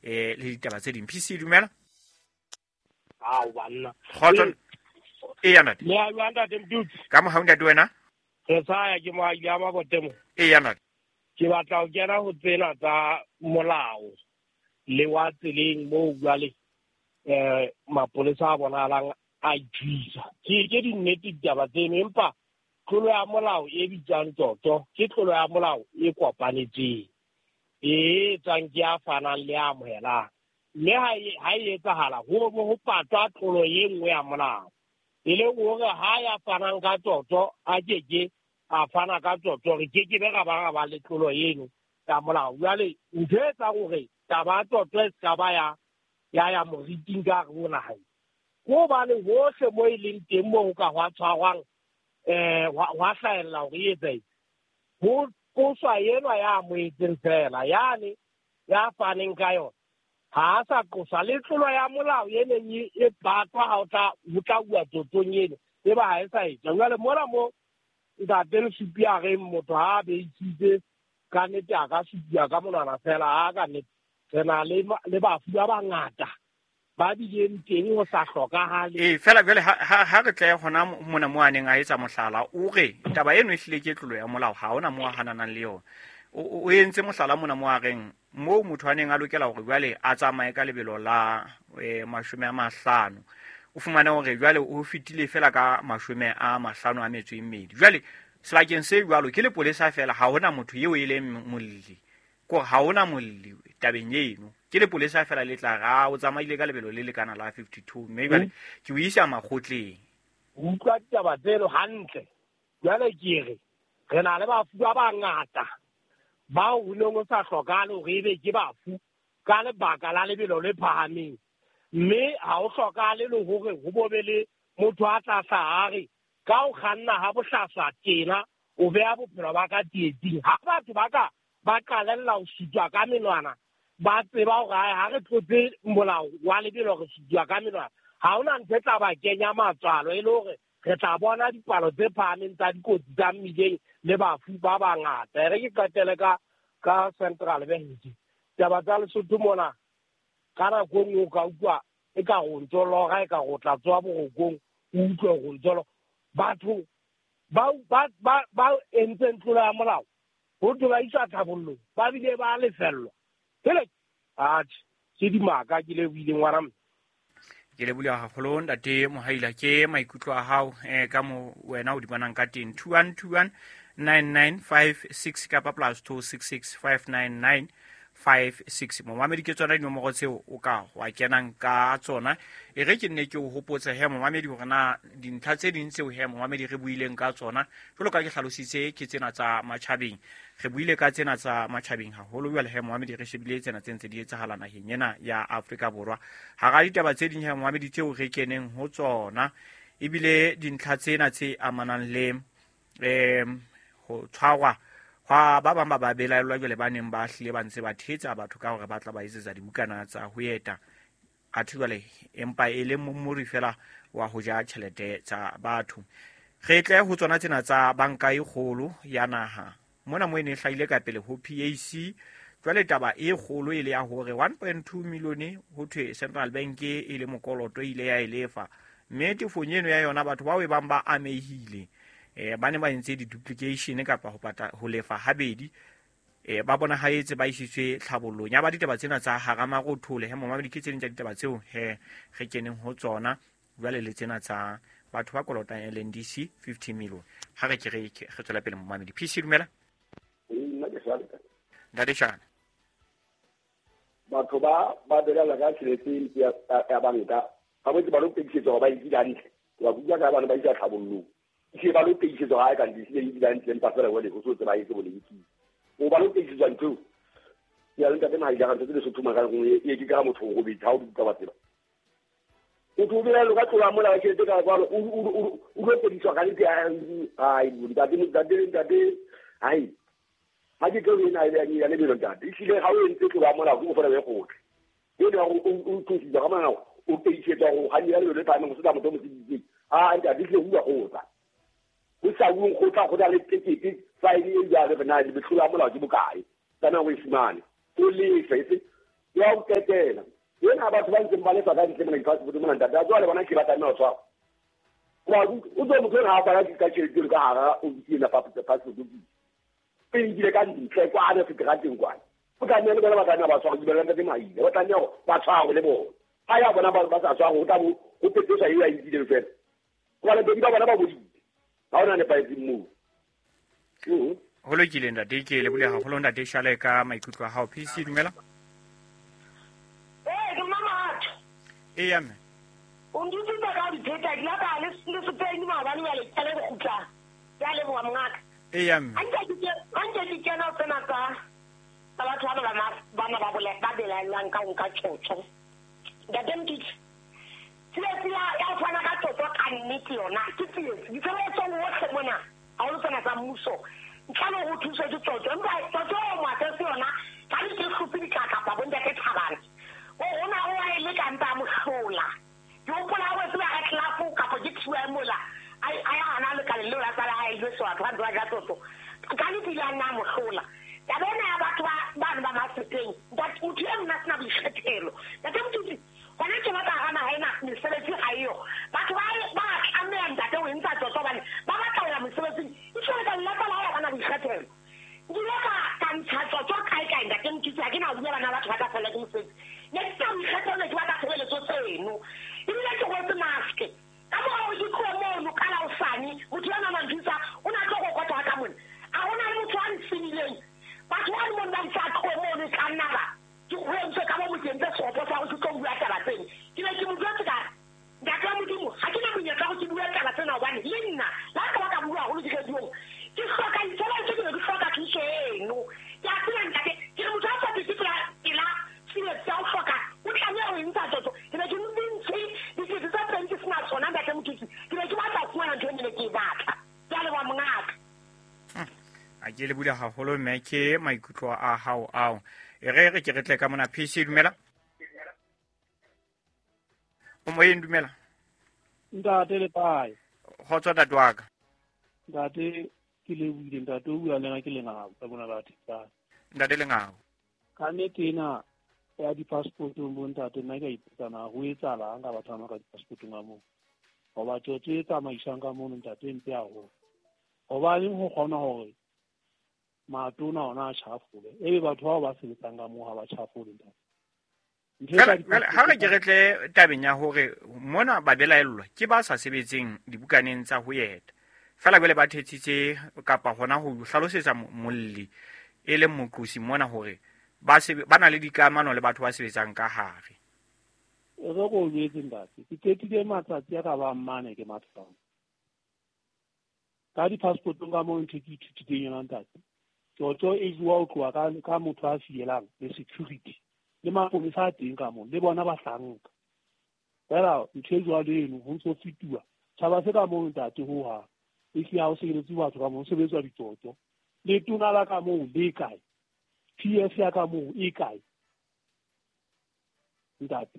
le ditaba tse ding. PC dumela. Ao banna. Kgotso. Eya ntate. Le a jwang ntate Mdutsi? Ka mohau ntate wena? Re sa ya ke moahi ya Mabotemo. Eya ntate. Ke batla ho kena ho tsena tsa molao le wa tseleng moo jwale mapolesa a bonahalang a ithuisa. Ke dinnete ditaba tseno, empa tlolo ya molao e bitswang tsotso ke tlolo ya molao e kopanetsweng, e etswang ke ya fanang le ya amohelang. Mme ha e etsahala ho bo ho patwa tlolo e nngwe ya molao, e leng hore ha ya fanang ka tsotso a keke a fana ka tsotso, re keke be ra ba ra ba le tlolo eno ya molao. Jwale ntho e etsang hore taba ya tsotso e ska ba ya moriting ka hare ho naha, ke hobane hohle mo e leng teng moo ho ka hwa tshwarwang, hwa hlahella hore e etsahetse, ho qoswa enwa ya amohetseng fela, yane ya faneng ka yona ha a sa qoswa. Le tlolo ya molao e neng e patwa ha ho tla uwa tsotsong eno, e ba ha e sa etswa. Jwale mona mo ntate Lesupi a reng motho ha a beisitse ka nnete a ka supiwa ka monwana fela, ha ka nnete re na le bafu ba bangata ba bileng teng ho sa hlokahale. Ee, fela jwale ha re tle hona mona mo a neng a etsa mohlala, o re taba eno e hlile ke tlolo ya molao, ha hona mo a hananang le yona. O entse mohlala mona mo a reng moo motho a neng a lokela hore jwale a tsamaye ka lebelo la 50, o fumane hore jwale o fetile fela ka 52. Jwale sebakeng se jwalo ke lepolesa fela, ha hona motho eo e leng molli, kore ha hona molli tabeng eno, ke lepolesa fela le tla ra o tsamaile ka lebelo le lekana la 52, mme jwale ke o isa makgotleng. Utlwa ditaba tseno hantle. Jwale ke re re na le bafu ba bangata bao ho neng ho sa hlokahale hore ebe ke bafu ka lebaka la lebelo le phahameng, mme ha ho hlokahale le hore ho bo be le motho a tla hlaha a re ka ho kganna ha bohlaswa tjena o beha bophelo ba ka tsietsing. Ha batho ba ka ba qalella ho sutwa ka menwana, ba tseba hore ha re tlotse molao wa lebelo re sutwa ka menwana, ha hona ntho e tla ba kenya matswalo, e le hore re tla bona dipalo tse phahameng tsa dikotsi tsa mmileng le bafu ba bangata. E re ke qetele ka Central Bank. Taba tsa Lesotho mona ka nako e nngwe o ka utlwa e ka go ntso lora, e ka go tla tswa borokong, o utlwe go ntso lora. Batho ba entseng tlolo ya molao ho thwe ba iswa tlhabollong, ba bile ba lefellwa. Hele, atjhe, ke dimaka ke le buileng ngwana mme. Ke lebohile haholo ntate Mohaila, ke maikutlo a hao ka mo wena o di bonang ka teng. 2121 9956 kapa +266 599 56. Momamedi, ke tsona dinomoro tseo o ka wa kenang ka tsona. E re ke nne ke o hopotse he momamedi hore na dintlha tse ding tseo he momamedi re buileng ka tsona, jwalo ka ke hlalositse, ke tsena tsa matjhabeng. Re buile ka tsena tsa matjhabeng haholo jwale he momamedi, re shebile tsena tse ntse di etsahala naheng ena ya Afrika Borwa. Hara ditaba tse ding he momamedi tseo re keneng ho tsona, ebile dintlha tsena tse amanang le ho tshwarwa hwa ba bang ba ba belaellwa jwale ba neng ba hlile ba ntse ba thetsa batho ka hore ba tla ba etsetsa dibukana tsa ho eta, athe jwale empa e le mommori fela wa ho ja tjhelete tsa batho. Re tle ho tsona tsena tsa banka e kgolo ya naha mona mo e ne e hlahile ka pele ho PAC. Jwale taba e kgolo e le ya hore 1.2 million ho thwe Central Bank e le mokoloto e ile ya e lefa, mme tefong eno ya yona batho bao e bang ba amehile ba ne ba entse di-duplication kapa ho pata ho lefa habedi, ba bonahetse ba isitswe tlhabollong ya ba ditaba tsena tsa hara marothole. He momamedi, ke tse ding tsa ditaba tseo he re keneng ho tsona jwale le tsena tsa batho ba kolotang LNDC 50 million. Ha re ke re tswela pele momamedi. PC dumela. Nna ke Shane. Ntate Shane. Batho ba belaela ka tjhelete ya banka, ba botse ba lo pekisetsa hore ba e dula hantle. Ba bua ka bana ba isa tlhabollong. Ke ba lo pekisetsa ha e ka ndi e dula hantle, empa fela jwale ho so tseba e se boleng. O ba lo pekisetsa ntho. Ya le ntate Mahaila ka ntho tse Lesotho mara e ke ka motho o robetse ha o bua ba tseba. O tlo belaela ka tlola mola tjhelete ka jwalo, o lo pekisetsa ka nnete. Ai, ntate, ai. Ha ke tlo ena ya lebelo ntate. Ehlile ha o entse tlola mola go fela be gotle. Ene o thusitse ka mana o pekisetsa go ga ya lebelo le phahameng go se motho mo seditseng. Ah, ntate ehlile ho bua kgotla. Ho sa bueng kgotla go na le tekete fine e jwalo re na le tlola molao ke bokae. Tsamaya o e fumane. O lefe, e se Ya ho qetela ena batho ba ntseng ba lefa ka ntle mona di-passport mona ntate a jwale bona ke ba tlameha ho tshwarwa. O tlo motho ena ha fana ka tjhelete ka hara ofisi ena passport office. E nkile ka ntle kwana seterateng kwana. O tlameha le bona ba tlameha ba tshwarwe, ke dumela ntate Maile, ba tlameha hore ba tshwarwe le bona. Ha ya bona ba sa tshwarwe ho tla bo ho pepeswa eo a e nkileng fela. Hobane bedi ba bona ba bodile. Ha hona nepahetseng moo. Ho lokile ntate, ke lebohile haholo ntate Shale ka maikutlo a hao. PC dumela. Ee, ke mma Mahatho. Eya mme. O ntutsitse ka ho di pheta, ke la ka le le Spain maobane jwale ke le kgutla. Ke a leboha mongaka. Eya mme. Ha nke ke kena ho tsena tsa tsa batho bana ba bana ba bole ba belaellang ka ho nka tjotjo. Ntate Mokitsi, tsietsi ya ya ho fana ka tjotjo ka nnete yona ke tsietsi. Ditshebeletsong hohle mona haholo tsena tsa mmuso ntle le hore o thuswe ke tjotjo, empa tjotjo eo moatletse yona ka di ke hlophe ditlakapa bo ntate Thabane. O hona o a e leka mpa a mo hlola. Ke hopola ha wetse ba Ratlafo kapa ke TY mola a a ya hana lekaleng leo la tsa lehae jwetse batho ba ntse ba ja tjotjo. Ka nnete ile a nna a mo hlola. Taba ena ya batho ba bano ba Maseteng, ntate motho e mong a sena boikgethelo. Ntate Mothusi, hona tjena ka hara naha ena mesebetsi ha eyo. Batho ba ba tlameha ntate ho e ntsha tjotjo hobane ba batla ho ya mosebetsing. Ehlile ka lelapa la hae ha ba na boikgethelo. Nkile ka ka ntsha tjotjo kae kae ntate Mothusi, ha ke na ho bua bana ba batho ba tla fellwa ke mosebetsi. Ne ke sena boikgethelo, ne ke batla tshebeletso tseno. Ebile ke rwetse mask. Ka mora hore ke tlohe mono ka la hosane, motho enwa a nthusa, o ne a tlo kokota ka mona. A hona le motho a nsenileng. Batho bano mono ba itse a tlohe mono, e ka nna ba ke ho entswe ka bo mo ke entse seropo sa hore ke tlo bua taba tsena. Ke ne ke mo jwetse ka re, Ntate wa Modimo, ha ke na monyetla wa hore ke bue taba tsena hobane le nna le ha nka ba ka bua haholo diradiong, ke hloka ditshebeletso, ke ne ke hloka thuso eno. Ke a tseba ntate, ke re motho a sa fete pela pela tsietsi ya ho hloka, o tlameha ho e ntsha tjotjo. Ke ne ke ntshe dikete tse pedi ke sena tsona ntate Mothusi, ke ne ke batla ho fumana ntho e ne ke e batla. Ke a leboha mongaka. A ke le bula haholo mme ke maikutlo a hao ao. E re re ke re tle ka mona PC dumela. O moyeng dumela. Ntate le kae? Kgotso ntate wa ka. Ntate ke lebohile ntate o bua le nna ke Lengau ka mona ba Thetsane. Ntate Lengau. Ka nnete ena ya di-passportong bo ntate nna ke a ipotsa na ho etsahalang ka batho ba ka di-passportong a moo. Hoba tjotjo e tsamaiswang ka mono ntate e mpe haholo. Hobaneng ho kgona hore matona ona a tjhafole ebe batho bao ba sebetsang ka moo ha ba tjhafole ntate. Ha re ke re tle tabeng ya hore mona ba belaellwa ke ba sa sebetseng dibukaneng tsa ho eta. Feela jwale ba thetsitse kapa hona ho hlalosetsa molli e leng moqosi mona hore ba ba na le dikamano le batho ba sebetsang ka hare. E re ko o jwetse ntate, ke qetile matsatsi a ka bang mane ke matha. Ka di-passportong ka moo ntho ke ithutileng yona ntate. Tjotjo e jowa ho tloha ka ka motho a fielang le security le mapolesa a teng ka moo le bona bahlanka. Fela ntho e jwalo eno ho ntso fetuwa tjhaba se ka moo ntate ho hang. Ehlile ha ho sebeletse batho ka moo ho sebetswa ditjotjo. Letona la ka moo le kae? PS ya ka moo e kae? Ntate.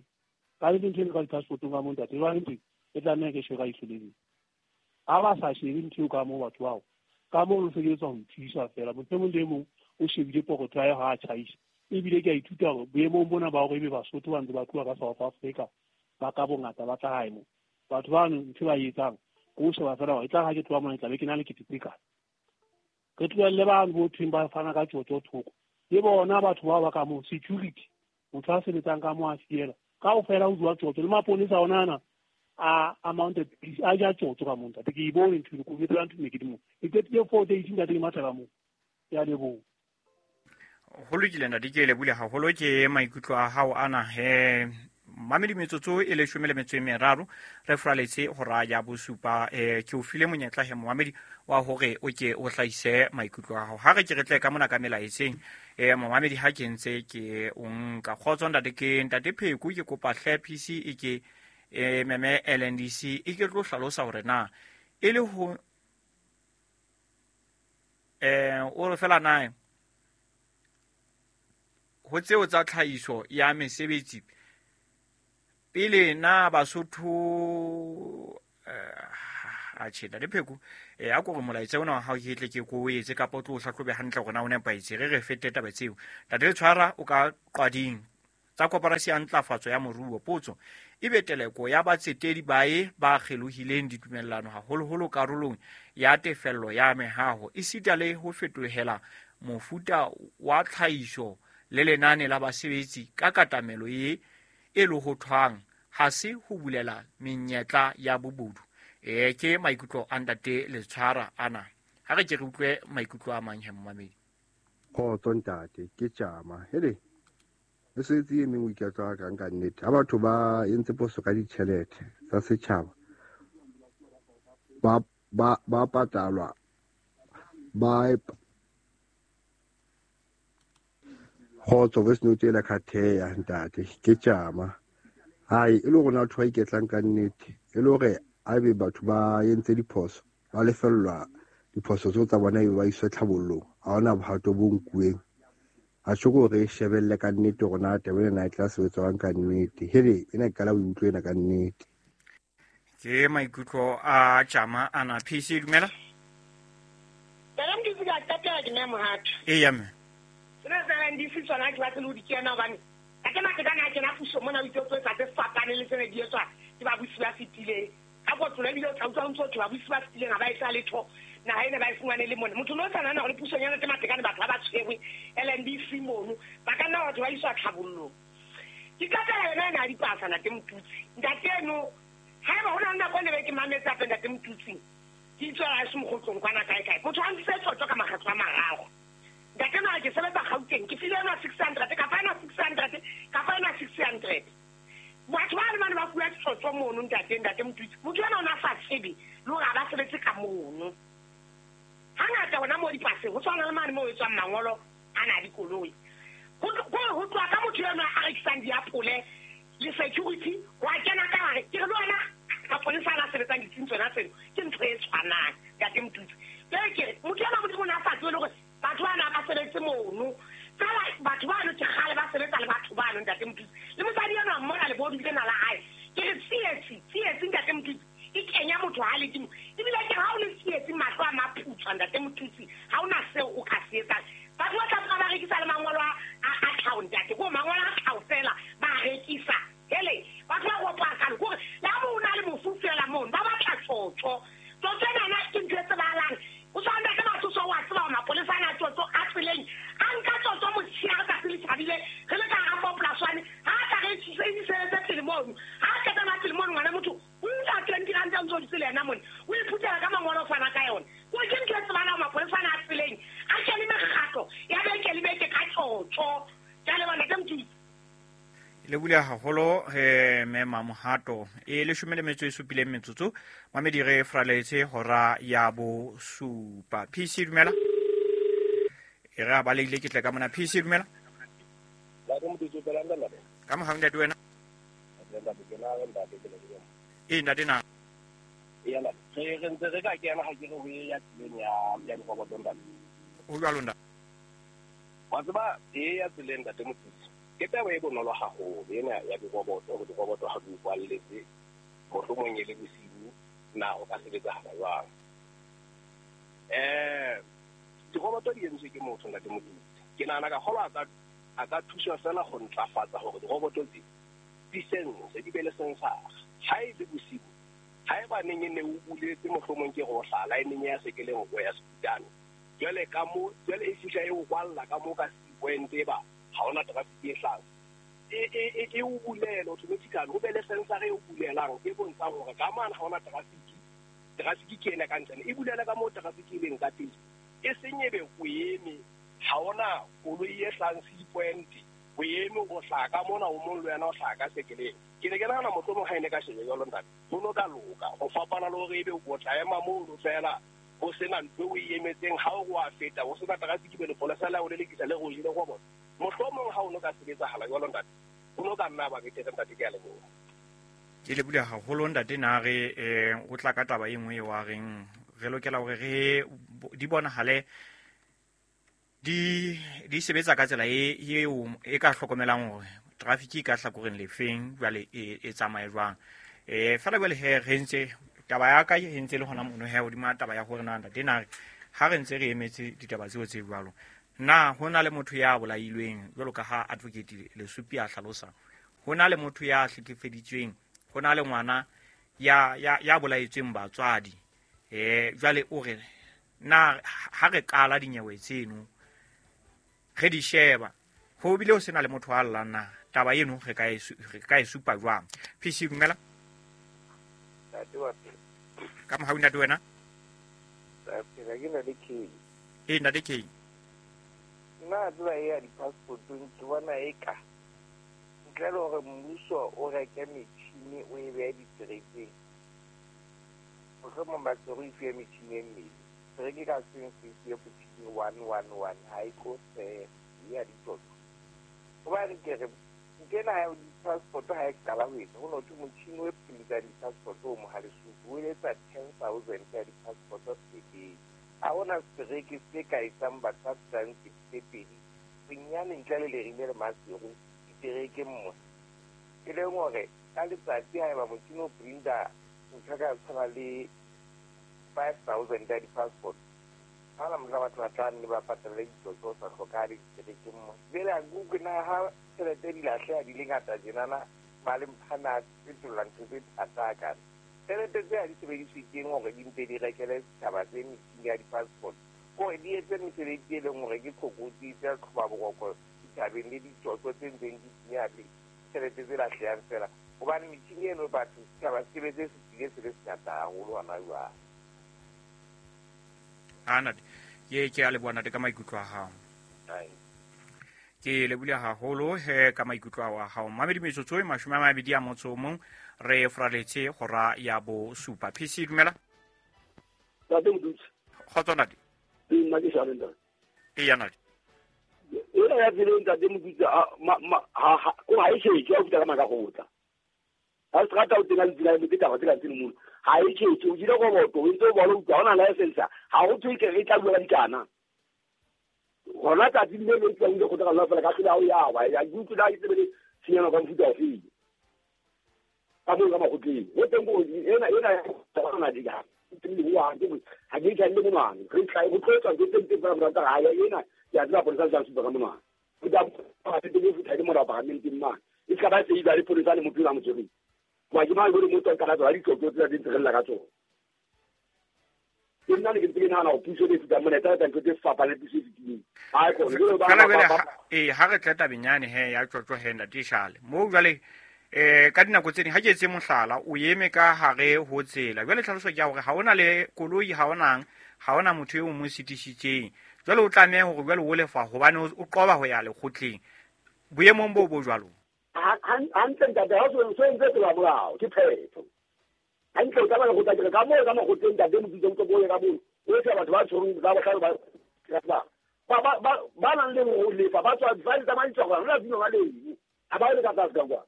Ka nnete ntho eno ka di-passportong ka moo ntate jwale ntho e tlameha ke shebe ka ihlo le leng. Ha ba sa shebe ntho eo ka moo batho bao ka moo ho sebetswa ho thusa fela. Motho e mong le e mong o shebile pokotho ya hae ha a tjhaisa. Ebile ke a ithuta hore boemong bona ba hore ebe Basotho ba ntse ba tloha ka South Africa ba ka bongata ba tla hae mo. Batho bano ntho ba e etsang ke ho sheba fela hore e tla ha ke tloha mona ke tla be ke na le kete tse kae. Re tlohelle bano bo thweng ba fana ka tjotjo thoko. Le bona batho bao ba ka moo security motho a sebetsang ka moo a fiela kaofela ho jowa tjotjo le maponesa ona ana a a mounted police a ja tjotjo ka moo ntate. Ke e bone ntho eno, ke o jwetsa ntho ne ke le moo. Ke qetile 4 days ntate ke matha ka moo. Ke a leboha. Ho lokile ntate, ke lebohile haholo ke maikutlo a hao ana he. Mamedi metsotso e 13 re furaletse hora ya bosupa. Ke o file monyetla he momamedi wa hore o ke o hlahise maikutlo a hao. Ha re ke re tle ka mona ka melaetseng momamedi ha ke ntse ke o nka. Kgotso ntate, ke ntate Pheko, ke kopa hle PC e ke meme LNDC e ke tlo hlalosa hore na e le ho o re fela na ho tseo tsa tlhahiso ya mesebetsi pele na Basotho atjhe ntate Pheko a ko re molaetsa ona wa hao ke tle ke ko o etse kapa o tlo o hlahlobe hantle hore na o nepahetse. Re re fete taba tseo. Ntate Letshwara o ka qwading. tsa koporasi ya ntlafatso ya moruo. Potso ebe teleko ya batsetedi bae ba kgelohileng ditumellano haholoholo karolong ya tefello ya mehaho esita le ho fetohela mofuta wa tlhahiso le lenane la basebetsi ka katamelo e lohothwang ha se ho bulela menyetla ya bobodu. Ke maikutlo a ntate Letshwara ana. Ha re ke re utlwe maikutlo a mang he mmamedi. Kgotso ntate, ke tjama. Hele, mesebetsi e meng o iketla kang ka nnete. Ha batho ba entse poso ka ditjhelete tsa setjhaba, ba patalwa, ba kgotso voice note ela khatheya ntate, ke tjama. Hai, e le rona batho ba iketlang ka nnete, e le hore a be batho ba entse diphoso, ba lefellwa diphoso tseo tsa bona ebe ba iswe tlhabollong. Ha hona bohato bo nkuweng. A tjho ke hore e shebelle ka nnete hore na taba ena e tla sebetswang ka nnete. Hele, ena ke qala ho utlwa ena ka nnete. Ke maikutlo a tjama ana. PC dumela. Tala mdutsi ka qetela ke mme Mohato. Eya mme. Sena sa NDC tsona ke batle le ho di kena hobane ka ke matekane a kena puso mona o itse o tlo etsa tse fapaneng le tsene di etswa ke babusi ba fetileng. Ka kotlo ebile o tla utlwa ho ntso thwe babusi ba fetileng ha ba etsa letho. Naha ena ba e fumane le mona. Motho no sa nahana hore pusong ya Ntate Matekane batho ha ba tshwerwe LNDC mono, ba ka nna batho ba iswa tlhabollong. Ke qetela yona ena ya dipasa Ntate Motutsi. Ntate eno haeba ho na le nako e ne be ke mametse hape Ntate Motutsi, ke itswela heso mokgotlong kwana kae kae. Motho a ntse tjotjo ka makgetlo a mararo. Ntate eno a ke sebetsa Gauteng, ke file ena 600, ka fa ena 600, ka fa ena 600. Batho ba le bane ba fuwa tjotjo mono ntate Motutsi. Motho ena o na sa tsebe le hore ha ba sebetse ka mono. Hangata hona moo dipaseng, ho tshwana le mane moo etswang mangolo a na dikoloi. Ho tloha ka motho enwa a rekisang diapole le security, wa kena ka hare. Ke re le wena mapolesa a na sebetsang ditsing tsona tseno, ke ntho e tshwanang, Ntate Motutsi. Jwale ke re, motho enwa Modimo o ne a sa tsebe le hore batho bana ba sebetse mono. Feela batho bano ke kgale ba sebetsa le batho bano, Ntate Motutsi. Le mosadi enwa mmona lebodu lena la hae. Ke re tsietsi, Ntate Motutsi, e kenya motho ha le dimo. Ebile ke ha o le tsietsi mahlo a maputshwa, Ntate Motutsi, ha ona seo o ka se etsang. Batho ba tla ba rekisa le mangolo a tlhaho, ntate. Ko mangolo a tlhaho fela ba rekisa. Hele, batho ba ropa kalo kore le ha o na le mofu fela mono, ba batla tjotjo. Tjotjo ena ke ntho e tsebahalang. O tshwana ntate Matsoso wa tseba hore mapolesa ana a tjotjo a tseleng. A nka tjotjo motshehare tsatsi le tjhabile, re le ka hara four plus one. Ha a tla re isetse pele mono. Ha a qeta ba pele mono, ngwana motho o nka 20 rand a ntso dutse le yena mona. O iphuthela ka mangolo o fana ka yona. Ko ke ntho e tsebahalang mapolesa ana a tseleng. A kene mekgatlo ya beke le beke ka tjotjo. Ke a leboha Ntate Motutsi. Le bula haholo mme Mamohato. E 17 metsotso. Mamedi re fraletse hora ya bosupa. PC dumela. E re a balehile ke tle ka mona. PC dumela. Ka mohau ntate wena. E ntate na. Ee, re ntse re ka kena ha ke re ho ya tseleng ya diroboto ntate. Ho jwalo ntate. Wa tseba e ya tseleng ntate Motutsi. Ke taba e bonolo haholo ena ya diroboto, hore diroboto ha di kwalletse mohlomong e le bosiu na o ka sebetsahala jwang. Diroboto di entswe ke motho ntate Motutsi. Ke nahana ka kgolwa a ka thuswa fela ho ntlafatsa hore diroboto tse di sense, di be le sensor. Ha e le bosiu, ha eba neng e ne o buletse mohlomong ke re o hlaha line ya sekeleng o ya Seputane. Jwale ka mo, jwale e fihla e o kwalla ka mo ka C point e ba ha hona traffic e hlahang. E o bulele automatically, ho be le sensor e o bulelang e bontshang hore ka mane ha hona traffic. Traffic ke ena ka ntle. E bulele ka moo traffic e leng ka teng. E seng ebe o eme, ha hona koloi e hlahang C point, o eme o hlaha ka mona, o mong le wena o hlaha ka sekeleng. Ke ne ke nahana mohlomong ha e ne ka shebe jwalo ntate, ho no ka loka ho fapana le hore ebe o tla ema mono fela ho sena ntho eo o e emetseng, ha o re wa feta ho sena traffic, be lepolesa la o lelekisa le re o jele roboto. Mohlomong ha o no ka sebetsahala jwalo ntate, ho no ka nna ba betere ntate, ke a leboha. Ke lebohile haholo ntate. Na re o tla ka taba e nngwe eo a reng re lokela hore re di bonahale di sebetsa ka tsela e eo e ka hlokomelang hore traffic e ka hlakoreng lefeng jwale e tsamaye jwang. Fela jwale he re ntse taba ya ka e ntse le hona mono he hodima taba ya hore na ntate na re ha re ntse re emetse ditaba tseo tse jwalo, Na ho na le motho ya bolailweng jwalo ka ha Advocate Lesupi a hlalosa, ho na le motho ya hlekefeditsweng, ho na le ngwana ya bolaetsweng batswadi. Jwale o re na ha re qala dinyewe tseno re di sheba ho bile ho sena le motho a llang, na taba eno re ka e supa jwang? PC dumela. Ka mohau ntate wena. Ee ntate K. Nna tseba e ya di-passportong ke bona eka ntle le hore mmuso o reke metjhini o e behe diterekeng, mohlomong ba se re ifuwe metjhini e mmedi, tereke ka seng se ifuwe motjhini 111 ha e tlo feela ya ditsotso. Hobane ke re nkena ya di-passport ha e qala ho etsa ho no thwe motjhini o printang di-passport o Mohalesupu o etsa 10,000 ya di-passport per day. Ha hona setereke se ka etsang batho ba fetang 62 bonyane ntle le Lerime le Maseru diterekeng mona. E leng hore ka letsatsi haeba motjhini o printa ntho ka tshwana le 5,000 ya di-passport, ha hona mohla batho ba tla nne ba patale ditsotso ho sa hlokahale diterekeng mona. Jwale ha ke utlwe na ha tjhelete di lahleha di le ngata tjenana, malempha a fetola ntho tse thata hakana. Tjhelete tse ha di sebediswe keng hore di mpe di rekele setjhaba tse metjhini ya di-passport, hore di etse mesebetsi e leng hore ke tlokotsi tse tlhoba boroko ditjhabeng le ditsotso tse ntseng di senyeha le tjhelete tse lahlehang feela. Hobane metjhini eno batho setjhaba se be se se tlile se le sengata haholo hona jwale. Ntate, ke a leboha ntate ka maikutlo a hao. Ke lebohile haholo he ka maikutlo a hao. Mamedi metsotso e 21 re fraletse hora ya 7. PC dumela. Ntate Modutsi. Kgotso ntate. Nna ke Shale ntate. Eya ntate. Ena ya tseleng ntate Modutsi ko ha e tjhetje ha o fihla ka Makakgotla. Ha o strata o tena ditsela le taba tsela tse mono. Ha e tjhetje o jile roboto o ntse o bona utlwa hona license ha ho thwe ke re tla bua ka dikana. Hona tsatsing le le tswang le kgotla ka fela ka hlola o ya wa ya ke utlwa e tsebele tshenyana ka mofuta ofe. Ka moo ka makgotleng. Ho teng ko ena ena di ka. Ha ke tla le monwana. Re tla go tlotsa ke teng teng ba rata ha ya ena ya tseba polisa sa supa ka monwana. O tla ba teng go fitha le morao parlamenteng mane. E ska ba se ile le polisa le motho la motswedi. Wa ke mang gore motho ka la tswa ditlotlo tse di ntseng la ka tsona. Ke nna ne ke ntse ke nahana hore puso e fetang mona e tla etsa ntho tse fapaneng le puso e fetileng. Ha e kgone. Jwale ba Ee, ha re tla tabeng yane he ya tjotjo he ntate Shale. Moo jwale ka dinako tse ding ha ke etse mohlala o eme ka hare ho tsela. Jwale tlhaloso ke ya hore ha ona le koloi, ha ona motho eo mo sitisitseng. Jwale o tlameha hore jwale o lefa hobane o qoba ho ya lekgotleng. Boemong bo bo jwalo. Hantle ntate, ha o so entse tsela molao ke phetho. Hantle o tsamaya go tla ka moo ka makgotleng ntate Modutsi o tlo ka moo. O etsa batho ba tshwereng ba bohlale ba nang le ho lefa ba tswa ba tsamaiswa go rona dino ba leng. Ha ba le ka tlase ka kwa.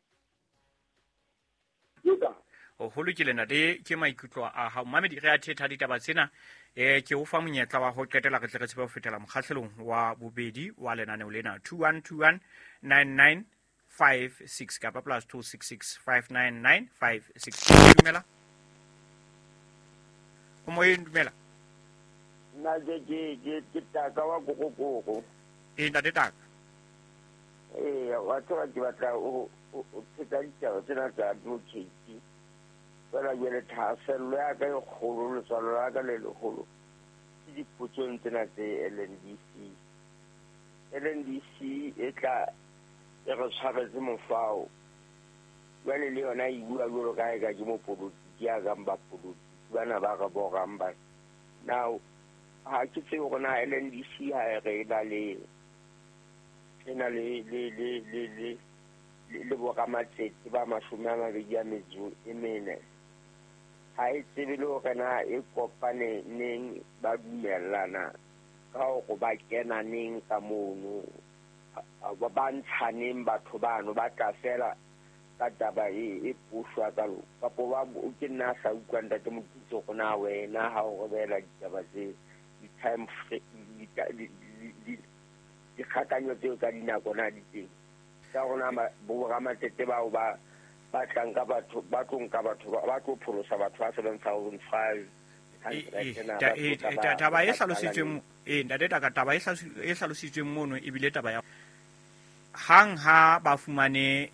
Ho lokile ntate, ke maikutlo a hao. Mamedi re a thetha ditaba tsena. Ke o fa monyetla wa ho qetela re tle re tsebe ho fetela mokgahlelong wa bobedi wa lenaneo lena. 2121 9956 kapa +266 599 56. Dumela. O moyeng, dumela. Nna ke taka wa kokokoko. Ee ntate Taka. Ee, wa tseba ke batla o pheta ditaba tsena tsa advocate. Fela jwale thahasello ya ka e kgolo, letswalo la ka le leholo ke dipotsong tsena tse LNDC. LNDC e tla e re tshwaretse mofao. Jwale le yona e bua jwalo ka ha eka ke mopolotiki ya kang bapolotiki bana ba re borang ba. Now ha ke tsebe hore na LNDC ha e re e na le le boramatsete ba 24. Ha e tsebe le hore na e kopane neng ba dumellana ka hore ba kena neng ka mono, ba ntshaneng batho bano ba tla fela ka taba e pushwa ka lo kapo ba ke nna sa utlwa ntate Modutsi go na wena ha o re beela ditaba tse di-time dikgakanyo tseo tsa dinako na di teng tsa rona bo ramatsete bao ba tlang ka batho ba tlo nka batho ba tlo pholosa batho ba 7,500. Taba e hlalositsweng Ee, ntate Taka, taba e hlalositsweng mono ebile taba ya hang ha ba fumane